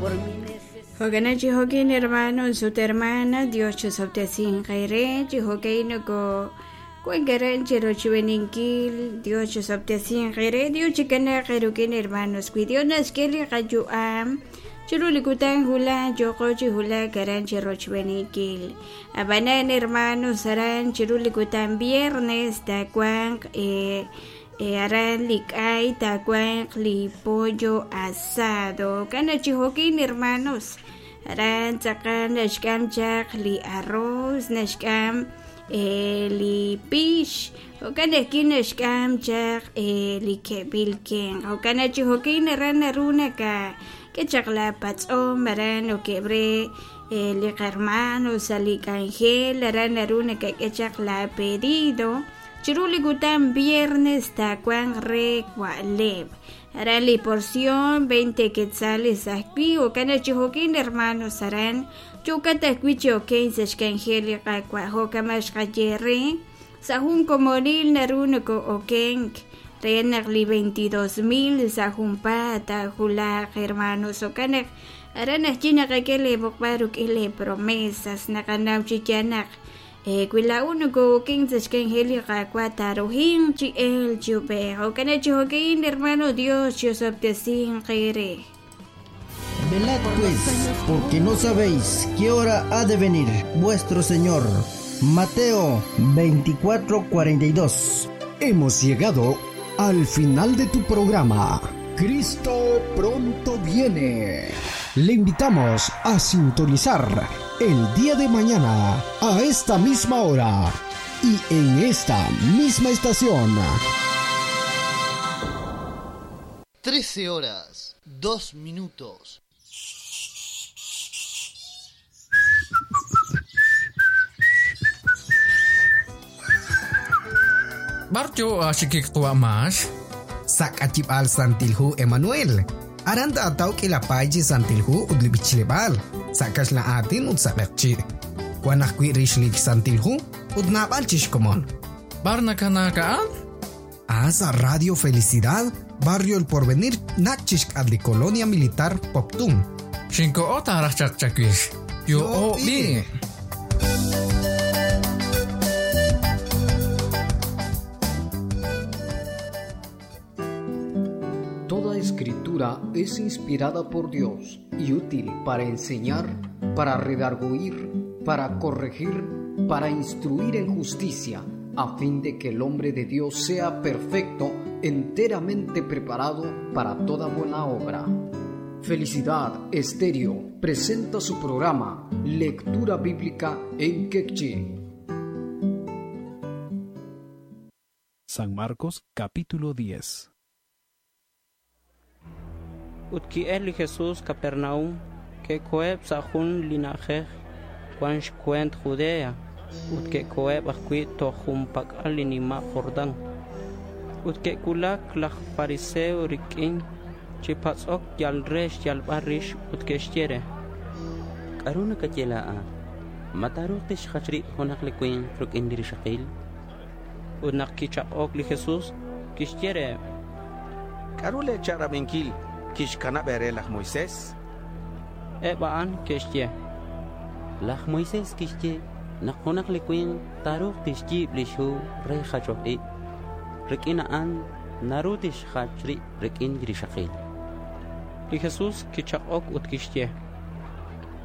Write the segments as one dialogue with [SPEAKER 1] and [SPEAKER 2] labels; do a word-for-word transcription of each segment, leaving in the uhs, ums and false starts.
[SPEAKER 1] Por mi necesidad.
[SPEAKER 2] Jo'kan chi jo'kin hermanos ut hermana Dios chosob'tesinq chi jo'kin noko kuenkaran chi rochb'eninkil Dios chosob'tesinq Dios chikanaq ruk'in hermanos wi Dios naxk'e li qayu'am chiru li kutan hula yoqo chi hula karan chi rochb'eninkil ab'anan hermanos aran chiru li kutan viernes tawanq eh, eh, aran li k'ay tawanq li pollo asado kana chi jo'kin hermanos aran tz'aqal naxk'am chaq li arroz naxk'am eh, li pix jo'kan ajwi' naxk'am chaq eh, li ke'b'il kenq jo'kan chi jo'kin aran naru naka k'e chaq la patz'om aran oke'bre eh, li qarhermano sa' li k'anjel aran naru nakak'e chaq la pedido chiru li kutan viernes tawanq re wa'leb' aran li porción veinte quetzales ajwi' jo'kan chi jo'kin hermanos aran yukat ajwi' chi oken sa' xk'anjel li qawa' jo'kama xqaye re sa' jun komonil naru noko-okenk re naq li veintidós mil sa' junpaat taajulaq hermanos jo'kan naq aran ajwi' naqak'e le b'oqb'al ruk'in le promesas naqanaw chi yaal naq eh, wi laa'u noko-oken sa' xk'anjel li qawa' taarujinq chi el chi ub'ej jo'kan chi jo'kin hermano Dios chosob'tesinq re.
[SPEAKER 3] Velad pues, porque no sabéis qué hora ha de venir vuestro Señor. Mateo veinticuatro cuarenta y dos.
[SPEAKER 4] Hemos llegado al final de tu programa. Cristo pronto viene. Le invitamos a sintonizar el día de mañana a esta misma hora y en esta misma estación.
[SPEAKER 5] Trece horas, dos minutos.
[SPEAKER 6] Barjo ashikik tuamash.
[SPEAKER 7] Sakachibal Santilhu Emanuel. Aranda ataw kilapay Santilhu udlibichilebal. Sakash la atin utsakchi. Wanakwi rishlik Santilhu udnabal chishkomon.
[SPEAKER 6] Barnakanakaan?
[SPEAKER 7] Asa Radio Felicidad, Barrio El Porvenir, Nachishk adli Colonia Militar Poptum.
[SPEAKER 6] Shinko ota rachakchakish. Yo o bi.
[SPEAKER 8] Toda escritura es inspirada por Dios y útil para enseñar, para redarguir, para corregir, para instruir en justicia, a fin de que el hombre de Dios sea perfecto, enteramente preparado para toda buena obra. Felicidad Estéreo presenta su programa Lectura Bíblica en Quechí.
[SPEAKER 9] San Marcos capítulo diez.
[SPEAKER 10] Ut ki'el li Jesús Capernaum, ke'koheb' sa' jun li na'ajej wan xkuent Judea, ut ke'koheb' ajwi' toj junpak'al li nima' Jordán. Ut ke'kulak laj fariseo rik'in chi patz'ok yal re xyalb'al rix ut ke'xye re.
[SPEAKER 11] K'aru nakaye laa'at? Ma taaruuq tixjach rib' junaq li winq rik'in li rixaqil?
[SPEAKER 10] Ut naq kichaq'ok li Jesús, kixye re.
[SPEAKER 12] K'aru leecha'rab'inkil kixkanab' ere laj Moisés?
[SPEAKER 10] Eb' a'an ke'xye.
[SPEAKER 11] Laj Moisés kixye naq junaq li winq taaruuq tixyiib' li xhu re jachok ib'. Rik'in a'an naru tixjach rib' rik'in li rixaqil.
[SPEAKER 10] Li Jesús kichaq'ok ut kixye.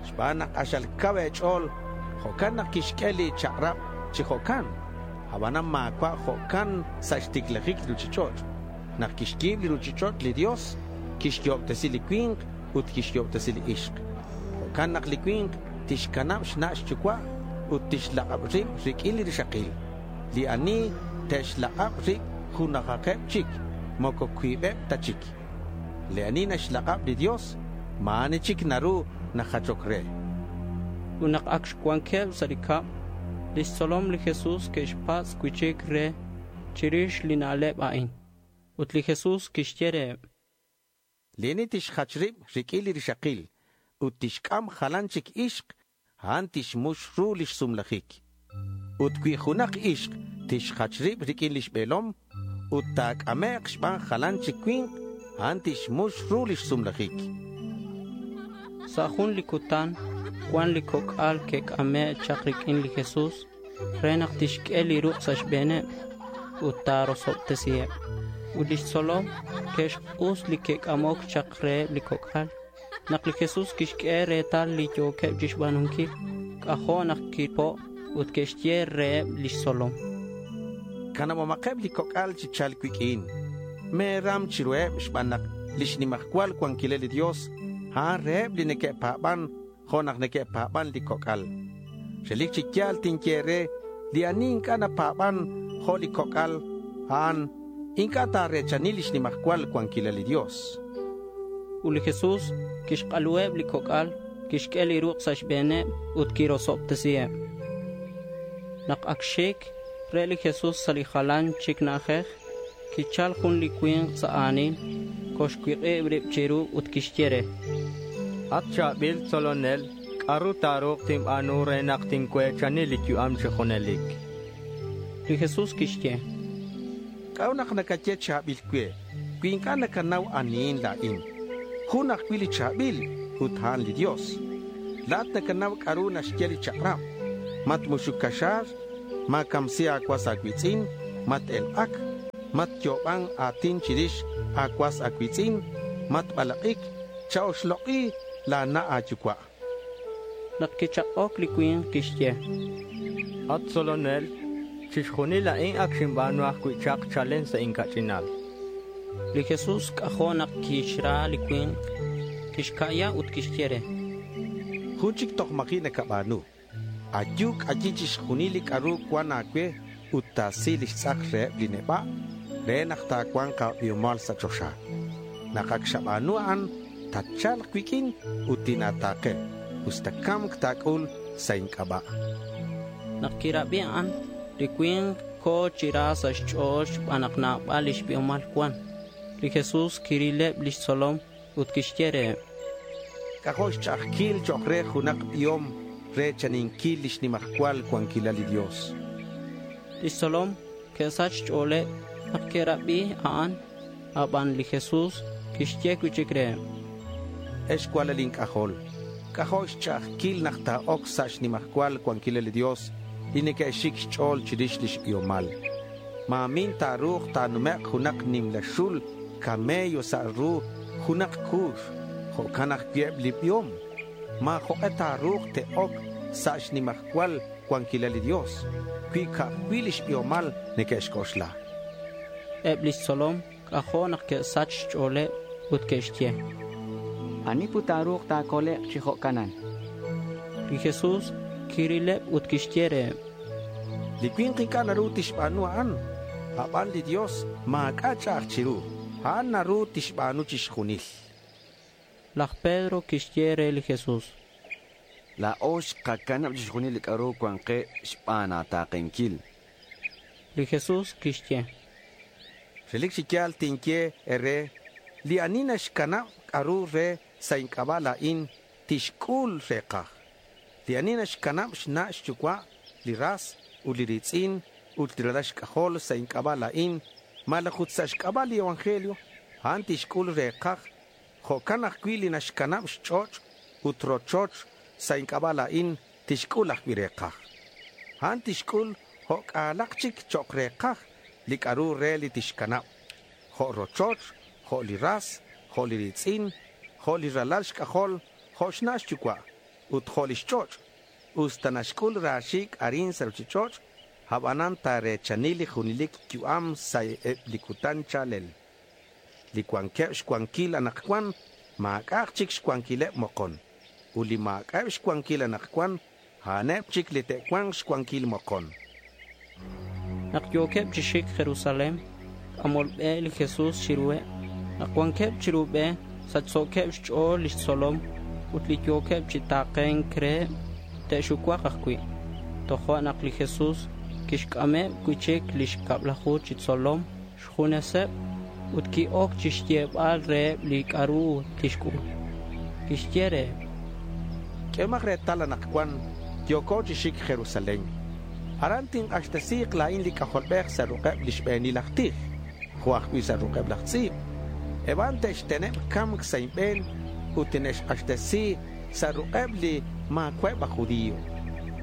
[SPEAKER 12] Xb'aan naq q'axal kaw eech'ool, jo'kan naq kixk'e li chaq'rab' chi jo'kan. Ab'anan maawa' jo'kan sa' xtiklajik li ruchich'och'. Naq kixyiib' li ruchich'och' li Dios, kixyo'ob'tesi li winq ut kixyo'ob'tesi li ixq. Jo'kan naq li winq tixkanab' xna' xyuwa' ut tixlaq'ab' rib' rik'in li rixaqil. Li ani te'xlaq'ab' rib' junaqaqeb' chik, moko wiib'eb' ta chik. Li ani naxlaq'ab' li Dios, maani chik naru najachok re.
[SPEAKER 10] Ut naq ak xwankeb' sa' li kab', lix tzolom li Jesús ke'xpatz' wi'chik re chirix li na'leb' a'in. Ut li Jesús kixye reheb'.
[SPEAKER 12] Li ani tixjach rib' rik'in li rixaqil ut tixk'am jalan chik ixq, a'an tixmux ru lix sumlajik. Ut wi junaq ixq tixjach rib' rik'in lix b'eelom ut taak'ame'q xb'aan jalan chik winq, a'an tixmux ru lix sumlajik.
[SPEAKER 10] Sa' jun li cutan cuan li coc'al que'c'ame' chak riq'uin li Jesús re nak tixq'ue li ruk' sa' xbe̱neb ut ta̱rosobtesiheb. Ut lix tzolom que'xk'us li que'c'amoc chak reheb li coc'al. Nak li Jesús quixq'ue retal li yo̱queb chixba̱nunquil, c'ajo' nak quipo' ut quixye reheb lix tzolom:
[SPEAKER 12] Canabomакeb li coc'al chi cha̱lc cuiq'uin. Me̱ram chiruheb xban nak lix nimajcual cuanquilal li Dios a'an reheb li neque'pa̱ban jo' nak neque'pa̱ban li coc'al. Relic chi ya̱l tinye re li ani inc'a' napa̱ban jo' li coc'al, a'an inc'a' ta̱re̱chani lix nimajcual cuanquilal li Dios.
[SPEAKER 10] Ut li Jesús quixk'aluheb li coc'al, quixq'ue li ruk' sa' xbe̱neb ut quirosobtesiheb. Nak ac xic re li Jesús sa' li jalan chic na'ajej, quichal jun li cui̱nk sa' a̱nil, coxcuik'ib rib chiru ut quixye re:
[SPEAKER 1] At cha̱bil tzolonel, ¿c'a'ru ta̱ru̱k tinba̱nu re nak tincue̱chani li yu'am chi junelic?
[SPEAKER 10] Li Jesús quixye:
[SPEAKER 12] ¿C'a'ut nak nacaye cha̱bil cue cui inc'a' nacanau anihin la̱in? Jun ajcui' li cha̱bil ut a'an li Dios. La̱at nacanau c'a'ru naxye li chak'rab. Matmuxuc caxa̱r, ma̱camsi a̱cuas a̱cui̱tz'in, mat-elk'ac, matyo'oban a̱tin chirix a̱cuas a̱cui̱tz'in, matbalak'ic, cha-oxlok'i la̱ na' a̱yucua'.
[SPEAKER 10] Nak quichak'oc li cui̱nk quixye:
[SPEAKER 1] At tzolonel, chixjunil a'in ac xinba̱nu ajcui' chak chalen sa' inca'ch'inal.
[SPEAKER 10] Li Jesús c'ajo' nak quixra li cui̱nk. Quixca'ya ut quixye re:
[SPEAKER 12] Jun chic toj ma̱ji' nacaba̱nu. Ayu c'ayi chixjunil li c'a'ru cuan a̱cue ut ta̱si lix tz'ak reheb li neba' re nak ta̱cua̱nk a̱biomal sa' choxa. Nak ac xaba̱nu a'an, tatcha̱lk cuiq'uin ut tina̱ta̱ke, usta ca̱mc ta̱c'ul sa' inc'aba'.
[SPEAKER 10] Nak quirabi a'an, li cui̱nk co̱ chi ra sa' xch'o̱l xban nak nabal lix biomal cuan. Li Jesús quirileb lix tzolom ut quixye reheb:
[SPEAKER 12] C'ajo' xch'a'ajquil chok' re junak biom re chaninquil lix nimajcual cuanquilal li Dios.
[SPEAKER 10] Lix tzolom que'sach xch'o̱leb nak que'rabi a'an. Aban li Jesús quixye cui'chic reheb:
[SPEAKER 12] Ex cualal inc'ajol, c'ajo' xch'a'ajquil nak ta̱oc sa' xnimajcual cuanquilal li Dios li neque'xic xch'o̱l chirix lix biomal. Ma̱min ta̱ru̱k ta̱numek' junak nimla xul camello sa' ru junak cuux, jo'can ajcui' eb li biom. Ma̱jok'e ta̱ru̱k te'oc sa' xnimajcual cuanquilal li Dios cui ca'ajcui' lix biomal neque'xc'oxla.
[SPEAKER 10] Eb lix tzolom c'ajo' nak que'sach xch'o̱leb ut que'xye:
[SPEAKER 13] Ani put ta̱ru̱k ta̱colek' chi jo'canan?
[SPEAKER 10] Li Jesús quirileb ut quixye reheb:
[SPEAKER 12] Li cui̱nk inc'a' naru tixba̱nu a'an. Aban li Dios ma̱c'a' ch'a'aj chiru. A'an naru tixba̱nu chixjunil.
[SPEAKER 10] Laj Pedro quixye re li Jesús:
[SPEAKER 14] La̱o xkacanab chixjunil li c'a'ru cuan ke xban a̱ta̱kenquil.
[SPEAKER 10] Li Jesús quixye:
[SPEAKER 12] Relic chi ya̱l tinye ere li ani naxcanab c'a'ru re sa' inc'aba' la̱in tixc'ul rekaj. Li ani naxcanab xna' xyucua' li ras ut li ritz'in ut li ralal xc'ajol sa' inc'aba' la̱in malaj ut sa' xc'aba' li evangelio a'an tixc'ul rekaj. Jo'can ajcui' li naxcanab xch'och' ut rochoch sa' inc'aba' la̱in tixc'ul ajcui' rekaj. A'an tixc'ul jo'c'alak chic chok rekaj li c'a'ru re li tixcanab. Jo' rochoch, jo' li ras, jo' li ritz'in, jo' li ralal xc'ajol, jo' xna' xyucua' ut jo' li xch'och'. Usta naxc'ul raxic arin sa' ruchich'och', abanan ta̱re̱chani li junelic yu'am sa' eb li cutan chalel. Li cuanqueb xcuanquil anakcuan, ma̱c'aj chic xcuanquileb mokon. Ut li ma̱c'eb xcuanquil anakcuan, a'aneb chic li te'cuank xcuanquil mokon.
[SPEAKER 10] Nak yo̱queb chi xic Jerusalén, c'amol be li Jesús chiruheb. Nak cuanqueb chiru be, sachso̱queb xch'o̱l lix tzolom ut li yo̱queb chi ta̱ke̱nk reheb te'xucuak ajcui'. Tojo' nak li Jesús quixc'ameb cui'chic lix cablaju chi tzolom xjuneseb ut qui-oc chixyebal reheb li c'a'ru tixc'ul. Quixye reheb:
[SPEAKER 12] Q'uehomak retal anakcuan yo̱co chi xic Jerusalén. Aran tink'axtesi̱k la̱in li c'ajolbej sa' ruk'eb li xbe̱nil aj tij, jo' ajcui' sa' ruk'eb laj tz'i̱b. Eban te'xteneb kamk sa' inbe̱n ut tine'xk'axtesi sa' ruq'eb' li maawa'eb' aj judío.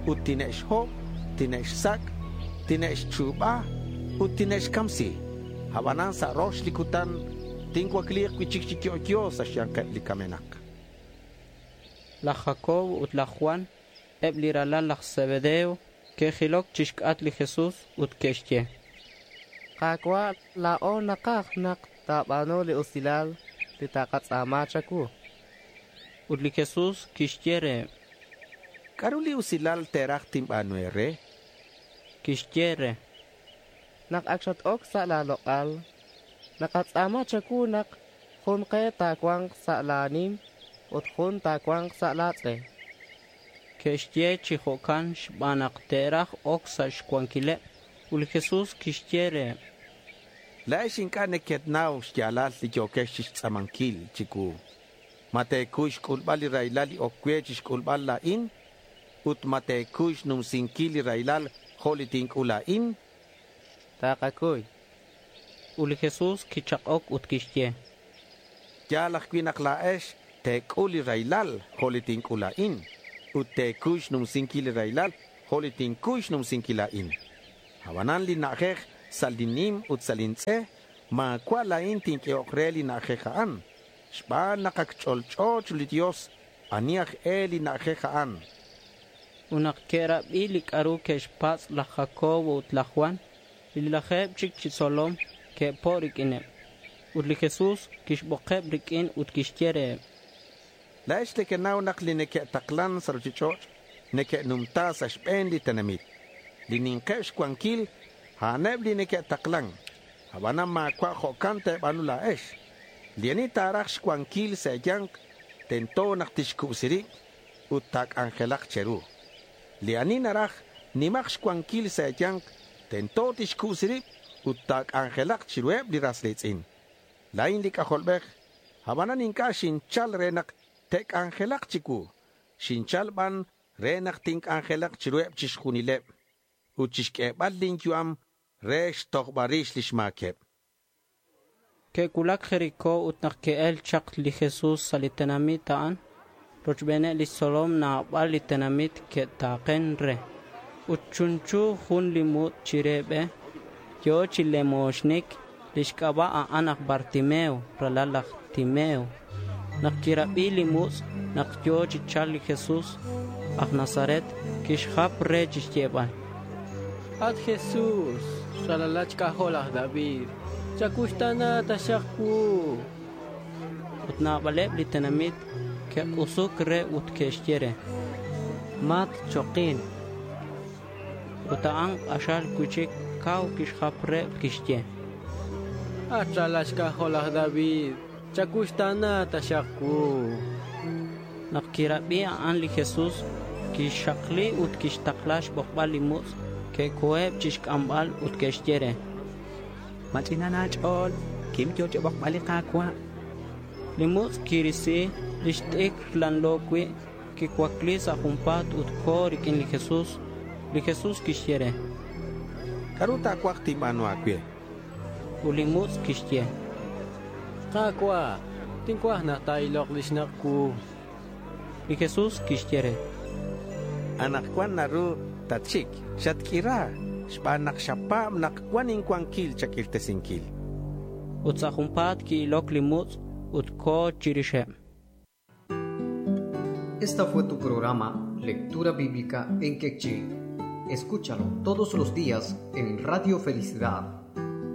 [SPEAKER 12] Ut tine'xhob', tine'xsak', tine'xchuub'a ut tine'xkamsi. Ab'anan sa' rox li kutan tincuakliiq cuichic chi yo'yo sa' xyanqeb' li kamenaq.
[SPEAKER 10] Laj Jacob ut laj Juan, eb' li ralal laj Zebedeo, ke'jilok chixk'at li Jesús ut ke'xye:
[SPEAKER 15] Qaawa', laa'o naqaj naq taab'aanu li usilal li taqatz'aama chawu.
[SPEAKER 10] Ut li Jesús kixye reheb':
[SPEAKER 12] K'aru li usilal teeraj tinb'aanu eere?
[SPEAKER 10] Kixye re:
[SPEAKER 15] Naq ak xat-ok sa' laaloq'al, naqatz'aama chawu naq jun qe taawanq sa' laanim ut jun taawanq sa' laatz'e.
[SPEAKER 10] Ke'xye chi jo'kan xb'aan naq te'raj ok sa' xwankileb'. Ut li Jesús kixye reheb':
[SPEAKER 12] Laa'ex ink'a' nekenaw xyaalal li yookex chixtz'aamankil chiwu. Ma teekuy xk'ulb'al li rahilal li ok we chixk'ulb'al laa'in? Ut ma teekuy xnumsinkil li rahilal jo' li tink'ul laa'in?
[SPEAKER 15] Taqakuy.
[SPEAKER 10] Ut li Jesús kichaq'ok ut kixye:
[SPEAKER 12] Yaal ajwi' naq laa'ex teek'ul li rahilal jo' li tink'ul laa'in. Ut teekuy xnumsinkil li rahilal jo' li tinkuy xnumsinkil laa'in. Ab'anan li na'ajej sa' li nim ut sa' lintz'e, maawa' laa'in tink'ehoq re li na'ajej a'an. Xb'aan naq ak ch'olch'o li Dios ani aj e li na'ajej a'an.
[SPEAKER 10] Ut naq ke'rab'i li k'aru ke'xpatz' laj Jacobo ut laj Juan, li lajeeb' chik chi tzolom ke'po' rik'ineb'. Ut li Jesús kixb'oqeb' rik'in ut kixye reheb':
[SPEAKER 12] Laa'ex nekenaw naq li neke'taqlan sa' ruchich'och' neke'numta sa' xb'een li tenamit. Li ninqeb' xwankil a'aneb' li neke'taqlan. Ab'anan maawa' jo'kan teeb'aanu laa'ex. Li ani taaraj xwankil sa' eeyanq tento naq tixkub'si rib' ut taak'anjelaq cheru. Li ani naraj nimaq xwankil sa' eeyanq tento tixkub'si rib' ut taak'anjelaq chiruheb' li ras riitz'in. Laa'in li k'ajolb'ej, ab'anan ink'a' xinchal re naq te'k'anjelaq chiwu. Xinchal b'an re naq tink'anjelaq chiruheb' chixjunileb' ut chixk'eeb'al linyu'am re xtojb'al rix lix maakeb'.
[SPEAKER 10] Ke'wulak Jericó ut naq ke'el chaq li Jesús sa' li tenamit a'an, rochb'eeneb' lix tzolom naab'al li tenamit ke'taaqen re. Ut chunchu jun li mut' chire b'e, yo chi lemooxnik, lix k'ab'a' a'an aj Bartimeo, ralal laj Timeo. Naq kirab'i li mutz' naq yo chi chalk li Jesús aj Nazaret, kixjap re chixyeeb'al:
[SPEAKER 16] At Jesús, ralalat xk'ajol laj David, chakuxtana taxaq wu.
[SPEAKER 10] Ut naab'aleb' li tenamit ke'q'usuk re ut ke'xye re:
[SPEAKER 16] Mat choqin.
[SPEAKER 10] Ut a'an q'axal cuichic kaw kixjap re kixye:
[SPEAKER 16] At ralal xk'ajol laj David, chakuxtana taxaq wu.
[SPEAKER 10] Naq kirab'i a'an li Jesús, kixxaqli ut kixtaqla xb'oqb'al li mutz'. Ke'koheb' chixk'amb'al ut ke'xye re:
[SPEAKER 13] Mach'inan aach'ool, kim yo chixb'oqb'al li Qaawa'.
[SPEAKER 10] Li mutz' kirisi lix t'ikr lanlo wi', kicuacli sa' junpa̱t ut ko̱ rik'in li Jesús. Li Jesús kixye re:
[SPEAKER 12] K'aru ta̱cuaj tinb'aanu aawe?
[SPEAKER 10] Ut li mutz' kixye:
[SPEAKER 16] Qaawa', tincuaj naq taa'iloq lix naq' wu.
[SPEAKER 10] Li Jesús kixye re:
[SPEAKER 12] Anaqwan naru tatxik, xatk'ira xb'aan naq xapaab' naq cuan incuanquil chak'irtesinkil.
[SPEAKER 10] Ut sa' junpa̱t ki'ilok li mutz' ut ko̱ chirixeb.
[SPEAKER 8] Esta fue tu programa Lectura Bíblica en Quechí. Escúchalo todos los días en Radio Felicidad,